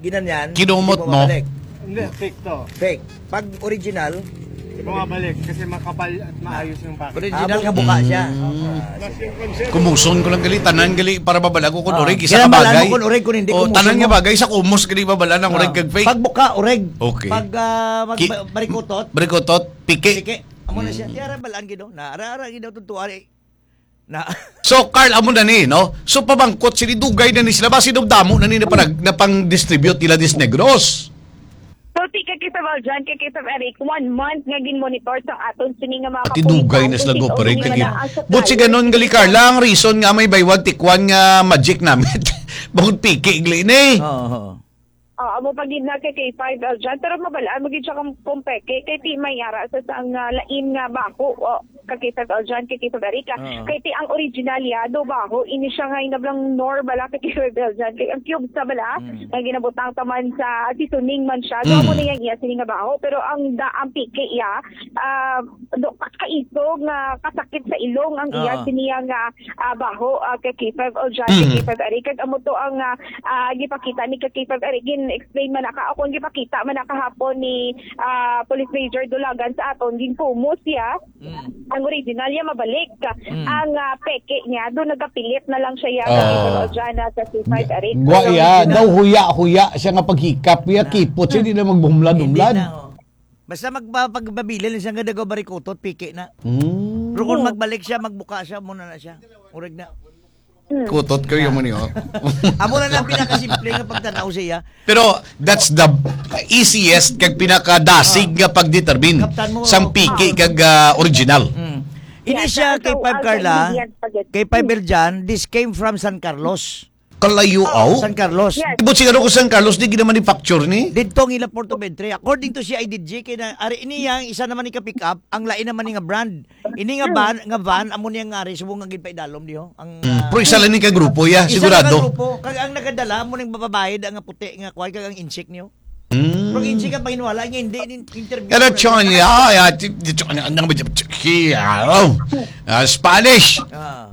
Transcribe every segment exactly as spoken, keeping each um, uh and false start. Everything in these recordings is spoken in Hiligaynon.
Ginanyan, Kinumot hindi mo mo. Mabalik. Hindi, fake to. Fake. Pag original, Bumabalik kasi makapal at maayos yung package. Original nga buka siya. Mm. Ah, sige. Kumuson ko lang gali, tanan gali para mabalago kung Ah, orig, isa ka kailangan malaman bagay. Kung orig, kung hindi, O, kumuson tanan nga mo. Bagay, sa kumos gali babala ng orig Ah. Kag fake. Pag buka, orig. Okay. Pag, ah, mag-, Ki-, ba-, barikutot. Barikutot, piki. Piki. Amo na siya. Mm. Tiara balaan gid, no? Na ara-ara gid daw tutuari. Na. So, Carl, amo na ni, no? So, pabangkot sini, dugay na ni sila. Basi daw damo na ni na panag-, na pang-distribute nila dis Negros. So, ti kay Kay Fab Aljan, kay Kay Fab Eric, one month nga gin-monitor sa aton sini nga mga Pati kapulisan dugay na sila kung go-operate sino lagi. Ang But si supplier. Ganon gali, Carla, ang reason nga may buy one take one nga magic namit. Bukod piki, gali ni. Oo, oo. Ah, amo pa gid na kay K five L dyan. Pero mabalaan mo gid siya kung, kung peke. Kay ti may ara sa sang, ah, lain nga baho. O, kay K five L dyan, kay K five Erica. Oo. Kay ti ang original ya, do baho. Ini siya nga inablang nor bala kay K five L dyan. Kay ang cubes na bala, Mm. nga ginabutang taman sa seasoning man siya. So, Mm. amo na yang iya sini nga baho. Pero ang da, ang piki ya, ah, do, kaisog nga kasakit sa ilong ang iya Ah. sini nga, ah, baho, ah, kay K five L dyan, kay Mm. K five Erica. Kag amo to ang, ah, ah, gipakita ni ka K five Eric, gin-explain man na ka, o kung gipakita man na kahapon ni, ah, Police Major Dulagan sa aton, ginkumos siya. Mm. Ang original niya mabalik. Mm. Ang, ah, peke niya, doon nagapilit na lang siya, ya, Ah. sa K five Aljan, sa K five Eric. Gwa Pero iya, original daw huya-huya siya nga paghikap, iya Ah. kipot siya, di na maghumlad-humlad. Hindi na, oh. Basta magpa-, pagpabilin siya nga dagaw barikutot, piki na. Mm. Pero kung magbalik siya, magbuka siya, muna na siya. Urag na. Hmm. Kutot kayo mo niyo. Amo na lang pinakasimple nga pagtanaw siya. Pero that's the easiest kag pinakadasig Ah. nga pagdetermine Kaptan mo. sang piki Ah. kag, ah, original. Mm. Ini Yeah, siya so, kay so, Five Carla, kay Five Berjan, this came from San Carlos. Kalayo, aw? San Carlos. Yes. But siguro ko San Carlos, di ginamanufacture ni? Dito ang ila Porto Ventre. According to C I D G, kay na, ari ini yang isa naman ni ka-pick up, ang lain naman ni nga brand. Ini nga Hmm. van, nga van, amo niya nga ari, subong nga ginpaidalom diho. Ang, Mm. ah, Pero isa lang ni ka grupo, ya, isa sigurado. Lang ka grupo, kag ang nagadala, amo ning bababae, da nga puti, nga kuwan, kag ang insik niyo. Mm. Pero insik ang panginwala niya, hindi, in-, interview Pero ko na chon, siya. ya, ya, ti-, ti-, chon, ano ba, chon, ya, oh. Ah, Spanish. Ah.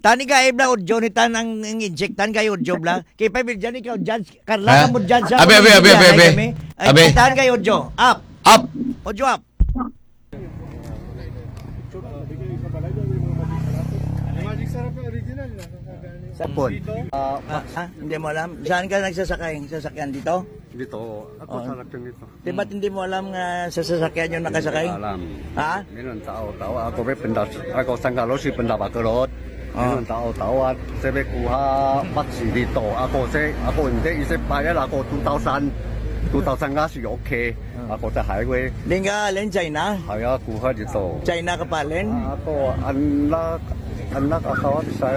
Tani ka, Ebla, o Johnny, tan ang, ang insik, tan kayo, Job, la. Kay pa, Bill, dyan, ikaw, judge, Carla, Ha? ka mo, judge, Abi, abi, abi, abi, abi. Abi. Ay, tan kayo, Jo. Up. Up. O, Jo, up. Sa phone. Ah, ah, hindi mo alam? Saan ka nagsasakay? Sasakyan dito? Dito. Ako Oo. sa lakyan dito. Di ba't hindi mo alam nga sa sasakyan yung nakasakay? Alam. Ha? Minun tao, tao. Ako may pindas. Ako sang kalo si Pendabakerot. Ah. Minun tao, tao. At sabi kuha paksi dito. Ako si, ako hindi. Isip bayad ako two thousand. Two thousand nga si okay. Ah. Ako sa highway. Di nga, Len, China? Ay, kuha dito. China ka pa, Len? Ah, ako, anak, anak asawa sa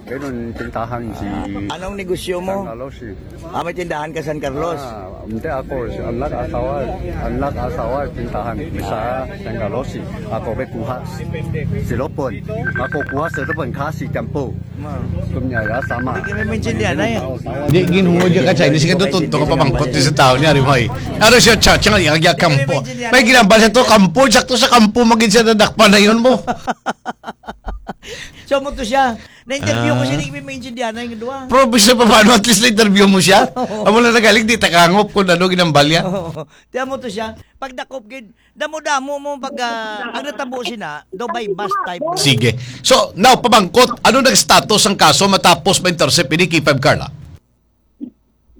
Ganun, tindahan si Ah, anong negosyo mo? San Carlos, eh. Ah, may tindahan ka San Carlos? Ah, hindi ako, si anak asawa, anak asawa, tindahan. May sa San Carlos, eh. Ako may kuha. Silopon. Ako kuha silopon, kasi tampo. Ma. Kumnya, ya, sama. Hindi ka may maintindihan na yan. Di, ginhungod ka ka Chinese, ka to, tunto ka pamangkot ni sa tao niya, Rimoy. Ano siya, cha, cha, ya, ya, kampo. May ginambal siya to, kampo, sakto sa kampo, magin siya nadakpan na yun mo. So, mo to siya. Na-interview ko Ah. siya, di ko maintindihan na yung duwa. Pero bisa pa paano, at least na-interview mo siya. Oo. Amo na nagaling, di takangop kung ano ginambal niya. Oo. Tiyan mo to siya. Pagdakop gid, damo-damo mo pag, ah, ang natabo sina, do by bus type. Sige. So, now, pabangkot, ano nang status ang kaso matapos ma-intercept ini kay Five Carla?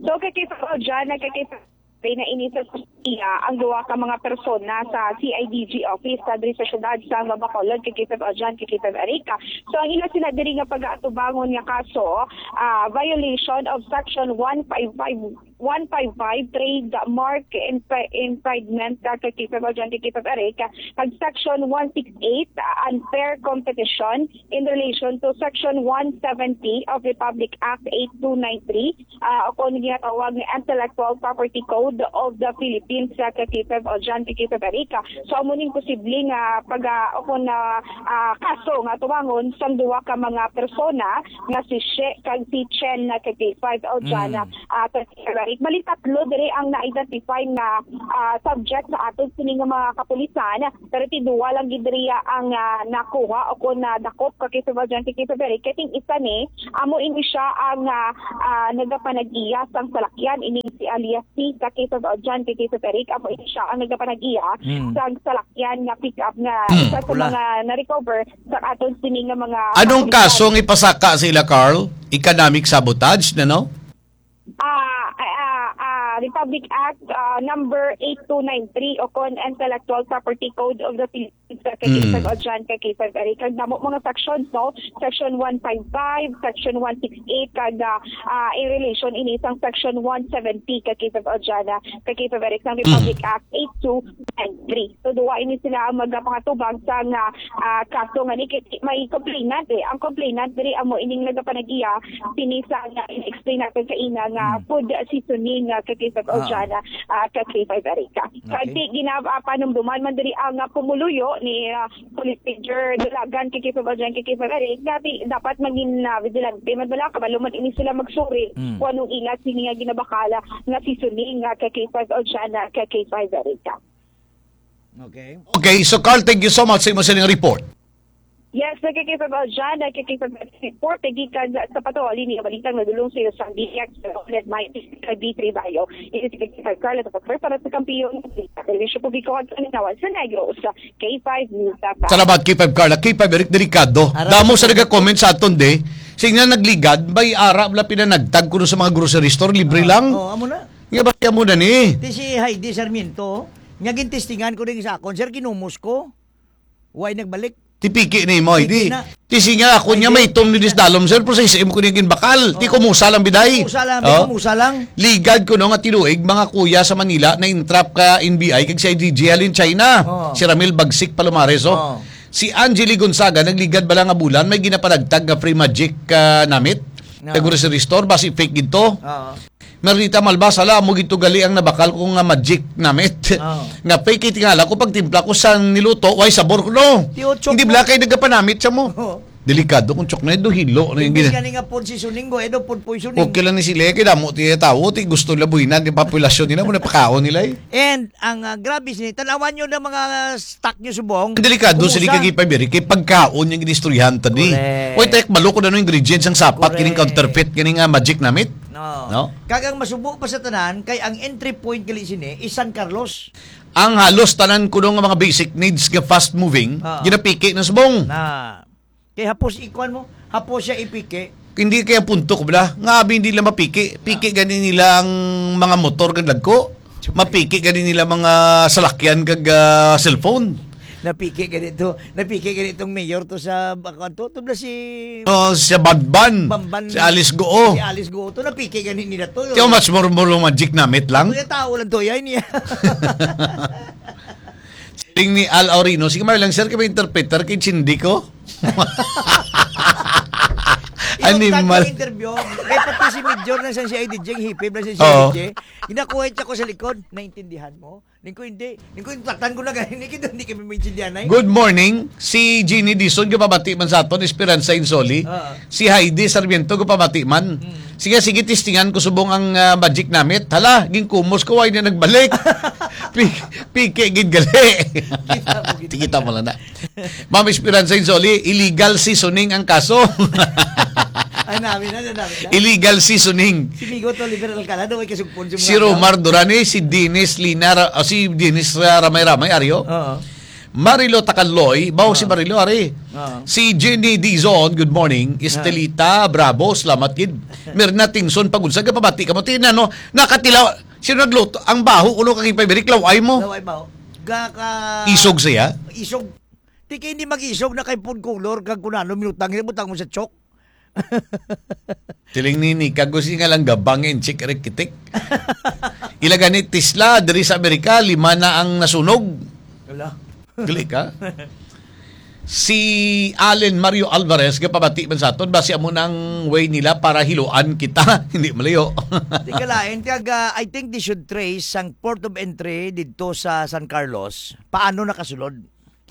So, kay K five Aljan, kay K five na ini sa kustodiya ang duha ka mga persona sa C I D G office sa diri sa siyudad sa Bacolod, kay K five Aljan, kay K five Erica. So, ang ila sila diri nga pag-aatubangon nga kaso, ah, violation of section one five five, one five five, trademark infri-, infringement, ah, kay K five Aljan, kay K five Erica, kag section one six eight, ah, unfair competition in relation to section one seventy of Republic Act eight two nine three, ah, o kung ginatawag nga Intellectual Property Code of the Philippines, ah, kay K five Aljan, kay K five Erica. So, amo ning posible nga pag, ah, o kung, ah, ah, kaso nga tuwangon sang duha ka mga persona nga si She kag si Chen na kay K five Aljan, Mm. ah, kay K five Erica. Bali, tatlo diri ang na-identify nga, ah, subject sa aton sini nga mga kapulisan, pero ti duwa lang gid diri ang, ah, nakuha o kon nadakop ka K five Adjan, ka K five Eric. Kay ting isa ni, amo ini siya ang, ah, ah, nagapanag-iya sang salakyan, ini si alias C ka K five Adjan, ka K five Eric. Amo ini siya ang nagapanag-iya Mm. sang salakyan nga pick-up nga Hmm. isa sa Wala. mga na-recover sa aton sini nga mga Anong kapulisan. kaso ang ipasaka sa ila, Carl? Economic sabotage na, no? Ah, ah, ah, Republic Act, ah, number eight two nine three o kon Intellectual Property Code of the Philippines, ka K five Mm. Adjan, ka K five Eric. Ang damo mga sections, no? Section one five five, Section one six eight, kag, ah, ah, in relation ini sang Section one seventy, ka K five Adjan, ah, ka K five Eric, sang Republic Mm. Act eight two nine three. So, duwa ini sila ang magapangatubang sa nga, ah, kaso nga ni kay may complainant, eh. Ang complainant diri amo ining nagapanag-iya sini sa nga explain natin sa ina nga Mm. food seasoning nga ka K five Ah. Adjan, ah, ka K five Erica. Okay. Kag di gina-, ah, panumduman man diri ang, ah, pumuluyo ni, ah, Police Major Dulagan, ka K five Adjan, ka K five Erica. Dati dapat maging, ah, vigilante man bala, kabalo man ini sila magsuri Mm. kung anong ila sini nga ginabakala nga seasoning nga ka K five Adjan, ah, ka K five Erica. Okay. Okay, so Carl, thank you so much sa imo sining report. Yes, nagkikita ba dyan? Nagkikita ba report? Gikan sa Pato, ali niya balitang nadulong sa iyo sa D X, Red Mike, sa D three Bayo. Ini si Kikita Carla sa Pagkar para sa kampiyon. Servisyo publiko at kalinawan sa Negros. K five News. Salamat, K five Carla. K five Eric Delicado. Aram Damo ko sa po. Nagka-comment sa aton, de. Sing na nagligad, may ara, wala pinanagtag kuno sa mga grocery store, libre Ah, lang. Oo, amo na. Nga ba siya mo na ni? Ti si Heidi Sarmiento, nga gintistingan ko din sa akon, sir, kinumos ko. Way nagbalik. Tipiki ni mo, Piki hindi. na. Tisi nga ako Ay, niya di, may itom ni piki na. Disdalom, sir, pero sa isim ko niya ginbakal. Ti Oo. kumusa lang, biday. Kumusa lang, Oh. kumusa lang. Ligad ko no nga tiluig, mga kuya sa Manila, na-entrap ka N B I kag si I D G halin China. Oo. Si Ramil Bagsik Palomares, oh. Oo. Si Angeli Gonzaga, nagligad bala nga bulan, may ginapanagtag nga free magic, ah, namit. Oo. Sa grocery store, basi fake gid to. Oo. Merlita Malbas, hala, amo gid to gali ang nabakal ko nga magic namit. Oo. Nga fake, kay tingala ko, pagtimpla ko sa niluto, way sabor ko, no? Ti, oh, chok Hindi mo. bala kay nagapanamit sa mo. Oo. Delikado kung chok na, do hilo na yung Hindi gina- gani nga food seasoning, go, edo food poisoning. Okay lang ni sila, kay damo ti tawo, ti gusto nila buhinan, yung populasyon nila, mo napakaon nila eh. And ang, ah, grabe sini, tanawan nyo ng mga stock nyo subong. Delikado Kumusta? sila kay Pabiri, kay pagkaon yung ginistoryahan tani. Correct. Oy, tek, malo ko na no ingredients ang sapat, Correct. kining counterfeit, kining, ah, magic namit. No. No? Kag ang masubo pa sa tanan, kay ang entry point gali sini is San Carlos. Ang halos tanan kuno nga mga basic needs nga fast moving, Ah. ginapiki na subong. Na. Kay hapos ikuan mo, hapos siya ipiki. Hindi kaya punto ko bala. Nga abi hindi lang mapiki. Piki Ah. gani nila ang mga motor kag lagko. Mapiki gani nila mga salakyan kag, ah, cellphone. Napiki ganito, napiki ganitong mayor to sa, ako, to, to na si Oh, si Banban. Banban. Si Alice Goo. Si Alice Goo. To, napiki gani nila to. Tiyo, mas murmuro magic namit lang. Kuya, tao lang to, yan niya. Siling ni Al Aurino, "Sige, Marlang, sir, kay may interpreter, kay Chindi ko." Animal. Yung tag-interview, kay pati si Major na sa C I D J, ang hipib na sa Oo. C I D J. Ginakuha siya ko sa likod, "Naintindihan mo?" Ning ko, "Hindi." Ning ko, "Taktan ko na gani, hindi kita, hindi kami maintindihan, ay." Good morning. Si Jeannie Dizon, gapabati man sa aton, Esperanza Insoli. Oo. Si Heidi Sarmiento, gapabati man. Mm. Sige, sige, testingan ko subong ang, ah, magic namit. Hala, ginkumos ko, ay na nagbalik. Pi-, piki gid gali. Kita mo gid. Kita mo lang na. Ma'am Esperanza Insoli, illegal seasoning ang kaso. Ay, namin na, namin na. Illegal seasoning. Si Migo to, Oliver Alcala, daw ay kasugpon sa Si mga Romar Durani, si Dennis Linar, ah, si Dennis, ah, Ramay-Ramay, Aryo. Oo. Marilo Takaloy, bawo si Oo. Marilo, ari. Oo. Si Jenny Dizon, good morning. Oo. Estelita Bravo, salamat gid. Mirna Tingson, pagunsa ka pabati ka mo. Tina, no, nakatilaw, sino nagluto? Ang baho, ulo ka kipay, biriklaw, ay mo. Laway ba? Ga ka Isog siya? Isog. Ti kay hindi mag-isog na kay food color, kag kunano, minutang, butang mo sa chok. Tiling nini, kag gusto nga lang gabang yung chick rikitik. Ila gani Tesla, diri sa Amerika, lima na ang nasunog. Wala. Gali ka? Si Allen Mario Alvarez, gapabati man sa aton, basi amo nang way nila para hiluan kita. Hindi malayo. Tika lain, kag, ah, I think they should trace ang port of entry didto sa San Carlos. Paano nakasulod?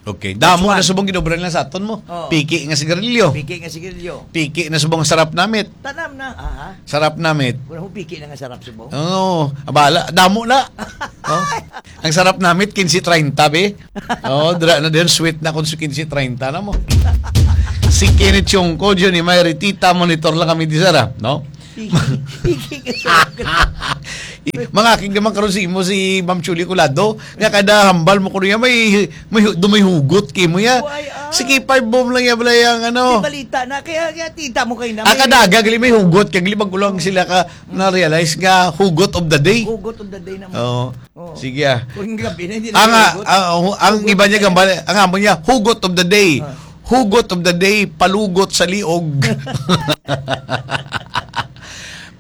Okay. Damo na subong ginobra nila sa aton mo. Oo. Piki nga sigarilyo. Piki nga sigarilyo. Piki na subong sarap namit. Tanam na. Aha. Sarap namit. Wala hong piki na nga sarap subong. Oo. Abala. Damo na. Oh. Ang sarap namit, quince treinta, be. Oh, dra na din. Sweet na kung quince treinta na mo. Si Kenneth Chongko, Johnny May Ritita, monitor lang kami di Sara, no? Piki, piki ka sa Mga aking gaman karon si imo si Ma'am Chuli Colado, nga kada hambal mo ko niya may, may, hu- do may hugot kay mo ya. Why, ah? Sige, five bomb lang ya, bala yang ano. Di balita na, kaya, kaya tita mo kayo na Ah, may kadaga, gali may hugot, kag libag ko lang sila ka na-realize nga hugot of the day. Hugot of the day na mo. Oo. Oo. Sige, ah. Kung gabi na, hindi na Ang, ah, hugot. ah, hu- ang Hugot iba niya of the gambal, ang amo niya, hugot of the day. Ah. Hugot of the day, palugot sa liog.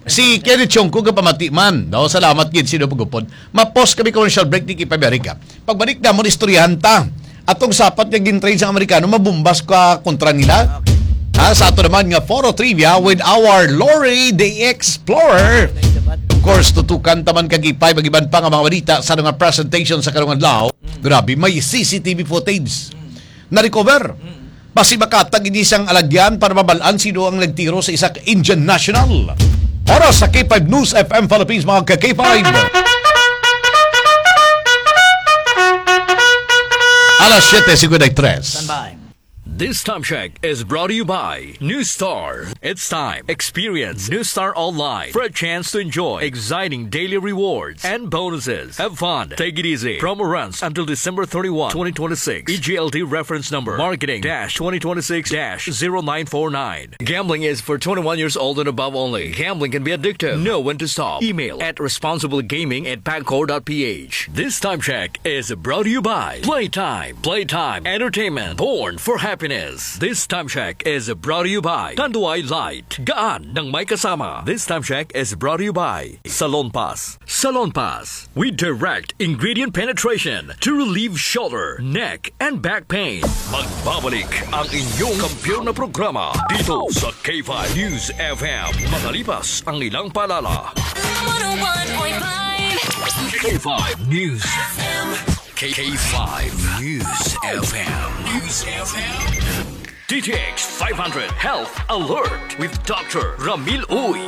Si Kenneth Chongko, kapamati man. No? Salamat gid, sino pagupod. Mapos kami commercial break, di kipabiyari ka. Pagbalik na mo, istoryahan ta. Atong sapat nga gin-train sa Amerikano, mabumbas ka kontra nila. Okay. Ha, sa ato naman nga Foro Trivia with our Lori the Explorer. Of course, tutukan taman kag ipay mag-iban pa nga mga balita sa mga presentation sa karong adlaw. Grabe, may C C T V footage. Na-recover. Basi makatag ini sang alagyan para mabalaan sino ang nagtiro sa isa ka Indian national. Oras sa K five News F M Philippines, mga ka K five. Alas siyete cincuenta y tres. Standby. This time check is brought to you by New Star. It's time. Experience New Star Online for a chance to enjoy exciting daily rewards and bonuses. Have fun. Take it easy. Promo runs until December thirty-one, twenty twenty-six. E G L T reference number marketing dash twenty twenty-six dash zero nine four nine. Gambling is for twenty-one years old and above only. Gambling can be addictive. Know when to stop. Email at responsiblegaming at pagcor dot p h. This time check is brought to you by Playtime. Playtime Entertainment. Born for happiness. This time check is brought to you by Tanduay Light. Gaan ng may kasama. This time check is brought to you by Salon Pass. Salon Pass. We direct ingredient penetration to relieve shoulder, neck, and back pain. Magbabalik ang inyong kampiyon na programa dito sa K five News F M. Makalipas ang ilang paalala. One oh one point five K five News F M. K five News F M. News F M. D T X five hundred Health Alert with Doctor Ramil Uy.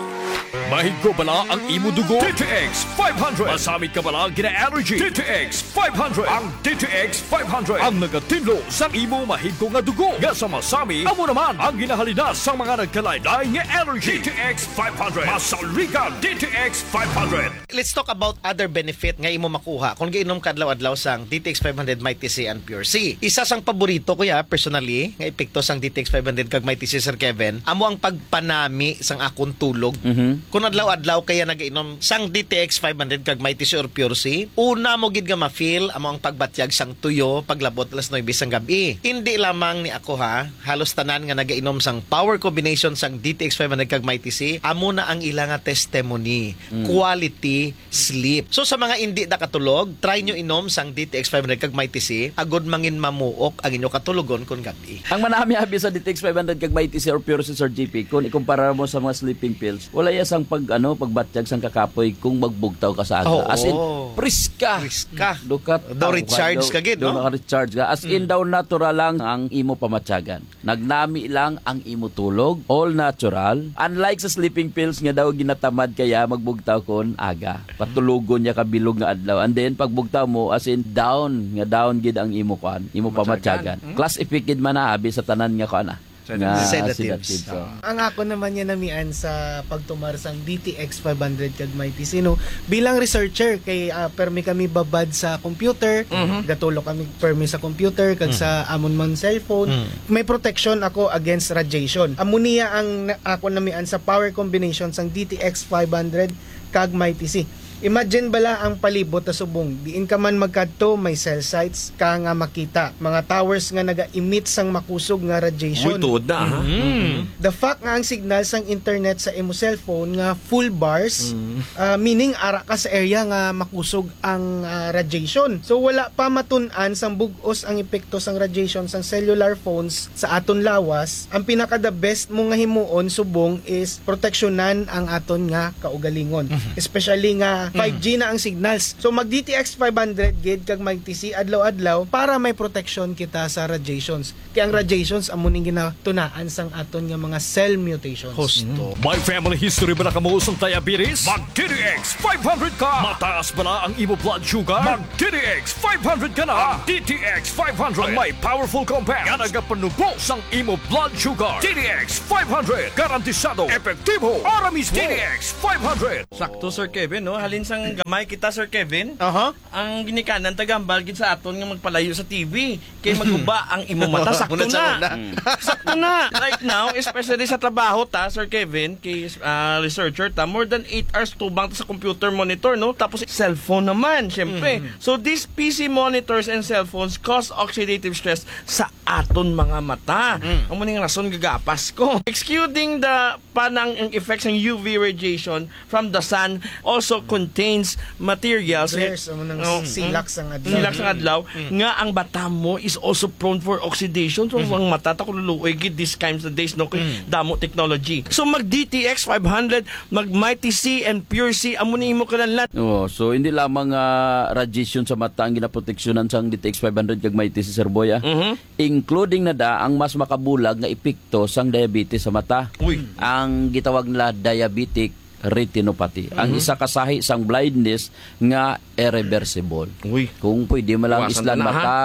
Mahigko bala ang imo dugo? D T X five hundred. Masami ka bala gina-allergy? D T X five hundred. Ang D T X five hundred ang nagatinlo sang imo mahigko nga dugo nga sa masami. Amo naman ang ginahalina sang mga nagkalain-lain nga allergy. D T X five hundred. Masaligan D T X five hundred. Let's talk about other benefit nga imo makuha kung giinom ka adlaw-adlaw sang D T X five hundred Mighty C and Pure C. Isa sang paborito ko ya, personally, nga epekto sang D T X five hundred kag Mighty C, Sir Kevin, amo ang pagpanami sang akon tulog. Mhm. Kung adlaw-adlaw kaya nagainom sang D T X five hundred kag Mighty C or Pure C, una mo gid nga ma-feel amo ang pagbatyag sang tuyo paglabot alas nuebe sang gab-i. Hindi lamang ni ako ha, halos tanan nga nagainom sang power combination sang D T X five hundred kag Mighty C, amo na ang ila nga testimony. Mm. Quality sleep. So, sa mga indi nakatulog, try nyo inom sang D T X five hundred kag Mighty C, agud mangin mamuok ang inyo katulogon kon gab-i. Ang manami abi sa D T X five hundred kag Mighty C or Pure C, Sir G P, kung ikumpara mo sa mga sleeping pills, wala iya sang pag, ano, pagbatyag sang kakapoy kung magbugtaw ka sa aga. Oo. As in, priska. Priska. Dukat Do recharge ka gid, no? Naka-recharge ka. As in, Mm. daw natural lang ang imo pamatyagan. Nagnami lang ang imo tulog, all natural. Unlike sa sleeping pills nga daw ginatamad kaya magbugtaw kon aga. Patulogon niya ka bilog nga adlaw. And then pagbugtaw mo, as in down, nga down gid ang imo kwan, imo Pamatyagan. pamatyagan. Hmm? Class effect gid man na abi sa tanan nga kwan, ah, Sedatives. nga Sedatives. sedatives, oh. Ah. Ang ako naman niya namian sa pagtumar sang D T X five hundred kag Mighty C, no? Bilang researcher, kay, ah, permi kami babad sa computer, Mhm. gatulo kami permi sa computer, kag Mhm. sa amon man cellphone. Mhm. May protection ako against radiation. Amo niya ang na-, ako namian sa power combination sang D T X five hundred kag Mighty C. Imagine bala ang palibot ta subong. Diin ka man magkadto, may cell sites ka nga makita. Mga towers nga naga-emit sang makusog nga radiation. Uy, tuod na, ha? Mhm. The fact nga ang signal sang internet sa imo cellphone nga full bars, Mm. ah, meaning ara ka sa area nga makusog ang, ah, radiation. So, wala pa matun-an sang bug-os ang epekto sang radiation sang cellular phones sa aton lawas. Ang pinaka the best mo nga himuon subong is proteksyonan ang aton nga kaugalingon. Mhm. Especially nga Five G na ang signals. So, mag D T X five hundred gid kag Mighty C adlaw-adlaw para may protection kita sa radiations. Kay ang radiations amo ning ginatunaan sang aton nga mga cell mutations. Husto. May family history bala kamo sang diabetes? Mag D T X five hundred ka! Mataas bala ang imo blood sugar? Mag D T X five hundred ka na! Ang D T X five hundred ang may powerful compound nga nagapanubo sang imo blood sugar. D T X five hundred, garantisado, epektibo, ara mismo. D T X five hundred. Sakto, Sir Kevin, no? Halin sang gamay kita, Sir Kevin. Aha. Ang ginikanan, tagambal gid sa aton nga magpalayo sa T V. Kay maguba ang imo mata. Sakto na. Muna sa una. Mm. Sakto na. Right now, especially sa trabaho ta, Sir Kevin, kay, ah, researcher ta, more than eight hours tubang ta sa computer monitor, no? Tapos cellphone naman, syempre. Mm. So, these P C monitors and cellphones cause oxidative stress sa aton mga mata. Mm. Amo ning rason gagapas ko. Excluding the panang ang effects ng U V radiation from the sun also contains materials. There's, amo nang Oh, silak mm. sang adlaw. Silak sang adlaw Mm. nga ang mata mo is also prone for oxidation. So, Mm. ang mata ta ko luluoy gid these times and days, no, kay Mm. damo technology. So, mag D T X five hundred, mag Mighty C and Pure C, amo ni imo kinahanglan. Oh, so hindi lamang, ah, radiation sa mata ang ginaproteksyonan sang D T X five hundred kag Mighty C, Sir Boy, ah. Mhm. Including na da ang mas makabulag nga epekto sang diabetes sa mata. Uy. Ang gitawag nila diabetic retinopathy. Ang Mhm. isa ka sahi sang blindness nga irreversible. Uy. Kung pwede mo lang Iwasan islan na, ha? mata,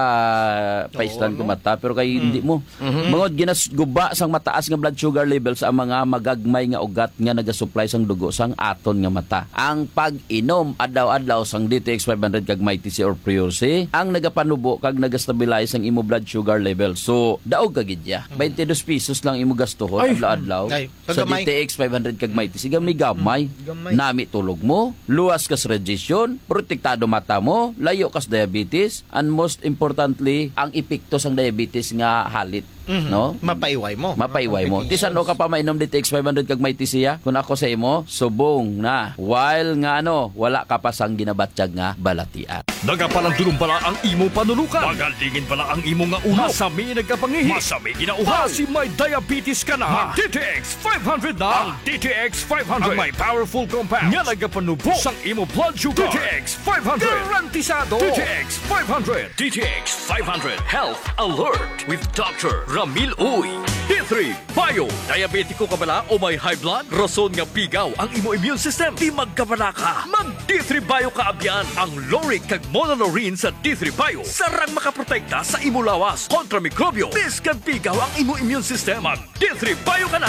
paislan Oo, ko no? mata, pero kay Mm. hindi mo. Mhm. Bangod ginasguba sang mataas nga blood sugar levels ang mga magagmay nga ugat nga nagasupply sang dugo sang aton nga mata. Ang pag-inom adlaw-adlaw sang D T X five hundred kag Mighty C or Pure C ang nagapanubo kag nagastabilize ang imo blood sugar level. So, daog ka gid ya. Mm. Twenty-dos pesos lang imo gastuhon Ay. adlaw-adlaw Ay, sa kagamay. D T X five hundred kag Mighty C. Gamay-gamay. Mm, gamay. Nami tulog mo, luwas ka sa radiation, protektado mata mo, layo ka sa diabetes, and most importantly, ang epekto sang diabetes nga halit, Mhm. no? Mapaiway mo. Mapaiway mo. Complications. Ti san-o ka pa mainom D T X five hundred kag Mighty C ya? Kung ako sa imo, subong na. While nga ano, wala ka pa sang ginabatyag nga balatian. Nagapalandulom bala ang imo panulukan? Magalingin bala ang imo nga ulo? Masami nagkapangihi? Masami ginauhaw? Basi may diabetes ka na? Mag D T X five hundred na. Ang D T X five hundred ang may powerful compound nga nagapanubo sang imo blood sugar. D T X five hundred. Garantisado. D T X five hundred. D T X five hundred Health Alert with Doctor Ramil Uy. D three Bio. Diabetiko ka bala o may high blood? Rason nga pigaw ang imo immune system. Di magkabala ka. Mag D three Bio ka abyan. Ang lauric kag monolaurin sa D three Bio sarang makaprotekta sa imo lawas kontra mikrobyo. Bisan pigaw ang imo immune system, mag D three Bio ka na.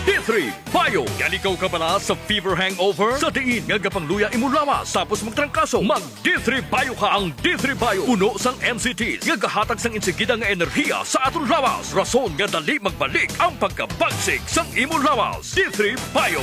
D three Bio. Yaligaw ka bala sa fever hangover? Sa diin nga gapangluya imo lawas tapos magtrangkaso? Mag D three Bio ka. Ang D three Bio puno sang M C Ts nga gahatag sang insigida nga enerhiya sa aton lawas, rason nga dali magbalik ang pagkabagsik sang imo lawas. D three Bio.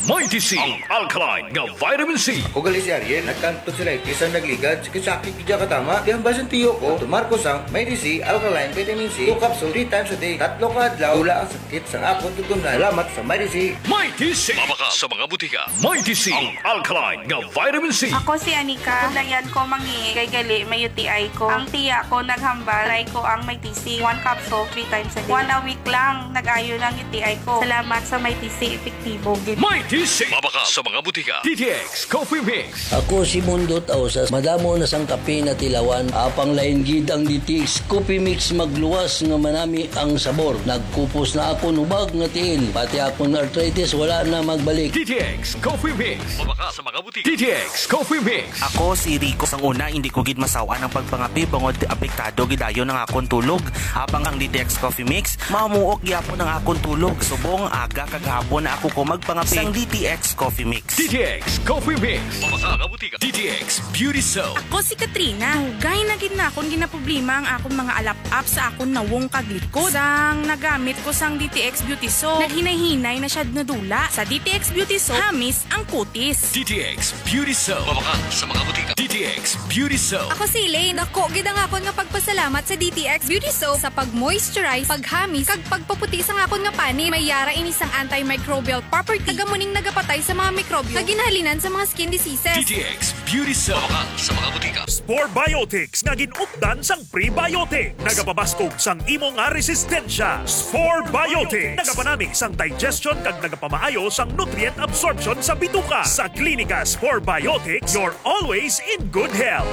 Mighty C, ang alkaline nga vitamin C. Ako gali si Ariel, nagkanto sila iti sang nagligad, sakit-sakit gid ka tama. Di ang basin tiyo ko, tumar ko sang Mighty C alkaline vitamin C, two capsule, three times a day. Tatlo ka adlaw, wala ang sakit sang akon tutunlan. Salamat sa Mighty C. Mighty C. Mabakal sa mga butika. Mighty C, ang alkaline nga vitamin C. Ako si Anika. Dayan ko mangihi kay gali may U T I ko. Ang tiya ko naghambal, try ko ang Mighty C. One capsule, three times a day. One a week lang, nag-ayo na ang U T I ko. Salamat sa Mighty C, epektibo gid. Mighty C. Mabakal sa mga butika. D T X Coffee Mix. Ako si Mundo Tausas. Madamo na sang kape natilawan. Apang lain gid ang D T X Coffee Mix, magluwas nga manami ang sabor. Nagkupos na akon hubag nga tiil. Pati akon arthritis wala na magbalik. D T X Coffee Mix. Mabakal sa mga butika. D T X Coffee Mix. Ako si Rico. Sang una, hindi ko gid masaw-an ang pagpangape bangod apektado gid ayon ang akon tulog. Apang ang D T X Coffee Mix, mamuok gyapon ang akon tulog. Subong aga kag hapon na ako ko magpangape. Sang D T X Coffee Mix. D T X Coffee Mix. Mabakal sa mga butika. D T X Beauty Soap. Ako si Katrina. Dugay na gid na akon ginaproblema ang akon mga alap-ap sa akon nawong kag likod. Sang nagamit ko sang D T X Beauty Soap, naghinay-hinay na siya nadula. Sa D T X Beauty Soap, hamis ang kutis. D T X Beauty Soap. Mabakal sa mga butika. D T X Beauty Soap. Ako si Elaine. Dako gid ang akon nga pagpasalamat sa D T X Beauty Soap sa pag-moisturize, paghamis, kag Pagpaputi sang akon nga panit. May yara ini sang antimicrobial property. Taga mo ning nagapatay sa mga mikrobyo nga ginhalinan sa mga skin diseases. D T X Beauty Cell. Sa mga butika. Spore Biotics nga gin-updan sang prebiotic. Nagapabaskog sang imo nga resistensya. Spore Biotics. Nagapanami sang digestion kag nagapamaayo sang nutrient absorption sa bituka. Sa Klinika Spore Biotics, you're always in good health.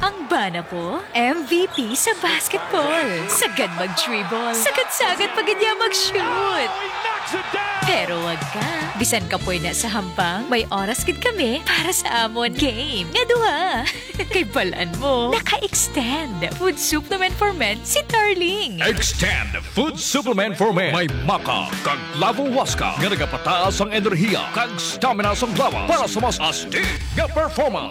Ang bana ko, M V P sa basketball. Sagad mag-dribble. Sagad-sagad pa gid niya mag-shoot. Pero wag ka. Bisan kapoy na sa hampang, may oras gid kami para sa amon game nga duha. Kay balan mo, naka-extend Food Supplement for Men si Darling. Extend Food Supplement for Men. May maca kag lavo huasca nga nagapataas ang enerhiya kag stamina sang lawas para sa mas astig nga performance.